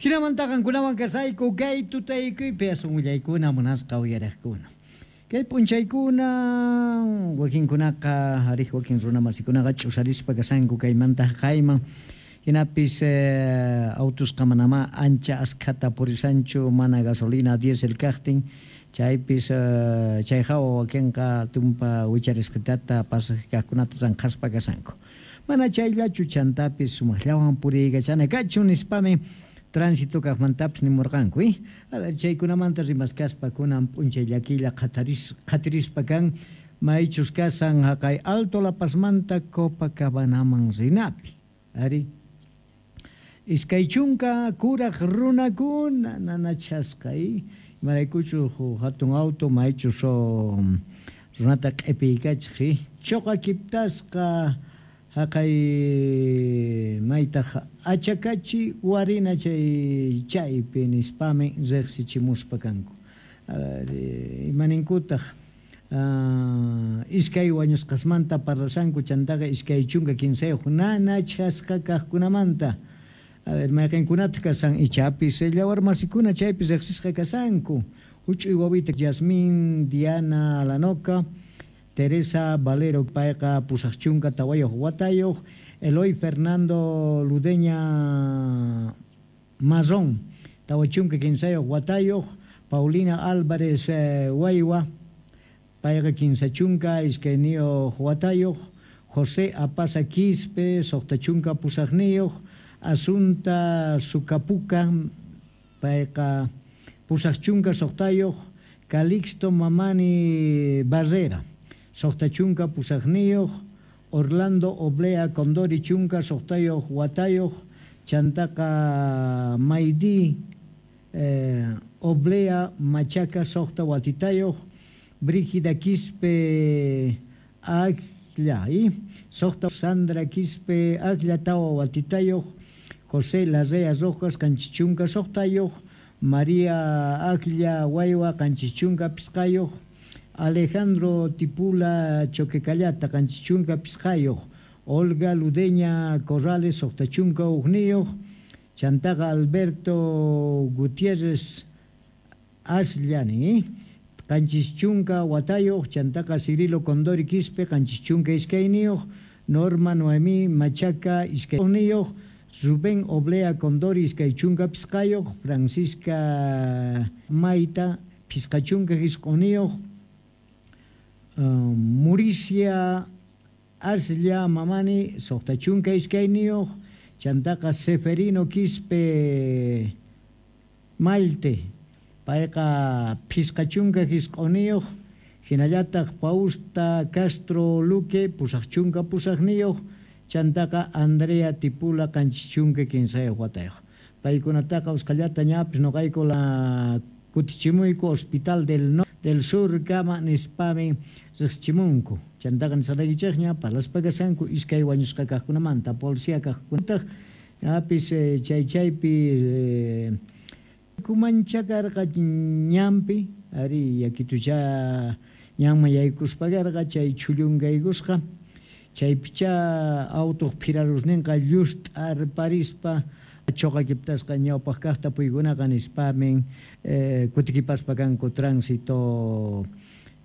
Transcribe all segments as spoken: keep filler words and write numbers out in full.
Hinamanta qankunawan kasayku kay tutaykuypi asun willaykuna munasqa uyariqkuna. Kay p'unchaykuna wakinkunaqa ariq wakin runamasikunaqa ch'usarispa kasanku kaymanta haqayman. Hinapis eh, autusqa manamá ancha askhata purisanchu mana gasolina diésel kaqtin. Chaypis eh, chay hawa wakinqa tumpa wicharisqitata pasaq kaqkunata ranqhaspa kasanku. Mana chayllachu chantapis sumaqllawan puriykachana kachun nispami tránsito kaqmantapis nimurqanku, eh? A ver, chaykunamanta rimaskaspa kunan p'unchay llakilla qhataris qhatirispa kan maychus kasan haqay Alto La Pazmanta Copacabanaman rinapi. Ari iskay chunka kuraq runakuna nanachasqa, eh? Imaraykuchu hatun auto maychus runata q'ipiykachiq, eh? Chuqa kiptasqa haqay maytaq Achacachi Warina chay chaypi nispami riqsichimuspa kanku. A ver, imaninkutaq uh, iskay wañusqasmanta parlasanku chantaqa iskay chunka kinsayuq nanachasqa kaqkunamanta. A ver, mayqinkunataq kasan ichapis llawarmasikuna chaypi riqsisqa kasanku. Huch'uy wawita Yasmín Diana Alanoca, Teresa Valero payqa pusaq chunka tawayuq watayuq, Eloy Fernando Ludeña Marrón tawa chunka kinsayuq watayuq, Paulina Álvarez eh, Waywa payqa kinsa chunka iskayniyuq watayuq, José Apaza Quispe suqta chunka pusaqniyuq, Asunta Sucapuca payqa pusaq chunka suqtayuq, Calixto Mamani Barrera suqta chunka pusaqniyuq, Orlando Oblea Condori chunka suqtayuq watayuq, chantaqa Maidi eh, Oblea Machaca suqta watitayuq, Brígida Quispe Aglla, ¿eh? Suqta Sandra Quispe Aglla tawa watitayuq, José Larrea Rojas qanchis suqtayuq, María Aglla Waywa qanchis chunka pisqayuq, Alejandro Tipula Choquecallata qanchis chunka pisqayuq, Olga Ludeña Corrales suqta chunka hukniyuq, chantaqa Alberto Gutiérrez Asllani, qanchis chunka watayuq, chantaqa Cirilo Condori Quispe qanchis chunka iskayniyuq, Norma Noemí Machaca iskayniyuq, Rubén Oblea Condori iskay chunka pisqayuq, Francisca Maita pisqa chunka isquniyuq, Uh, Muricia Aslla Mamani suqta chunka iskayniyuq, chantaqa Seferino Quispe Malte payqa pisqa chunka isquniyuq, hinallataq Fausta Castro Luque pusaq chunka pusaqniyuq, chantaqa Andrea Tipula qanchis chunka kinsayuq watayuq. Paykunataqa usqallata ñapis nuqayku la kutichimuyku Hospital del no del Sur kama nispami riqsichimunku. Chantaqa nisqaykichikña parlaspa kasanku iskay wañusqa kaqkunamanta policía kaqkunataq ñapis eh, chay chaypi eh, kumancha karqa ñanpi ari yakitucha ñanman yaykuspa karqa chay chhullungaykusqa chaypicha autuq phirarusninqa llust'arparispa chuqa kiptasqa ñawpaq kaqta puykunaqa nispamin eh, kutikipaspa kanku tránsito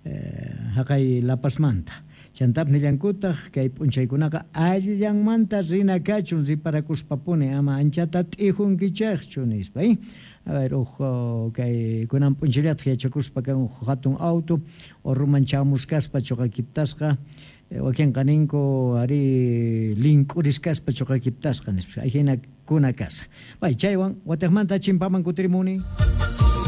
eh, haqay La Pazmanta. Chantapis nillankutaq kay p'unchaykunaqa allillanmanta rina kachun riparakuspapuni ama anchata t'ijunkichikchu nispa, eh? A ver, uj kay kunan p'unchayllataq yachakuspa kan uj hatun auto urruman chamuskaspa chuqa kiptasqa wakinqa ninku ari link'uriskaspa chuqa kiptasqa nispa. Ahina kuna kasa. Bay chaywan wataqmanta chimpaman kutirimuni.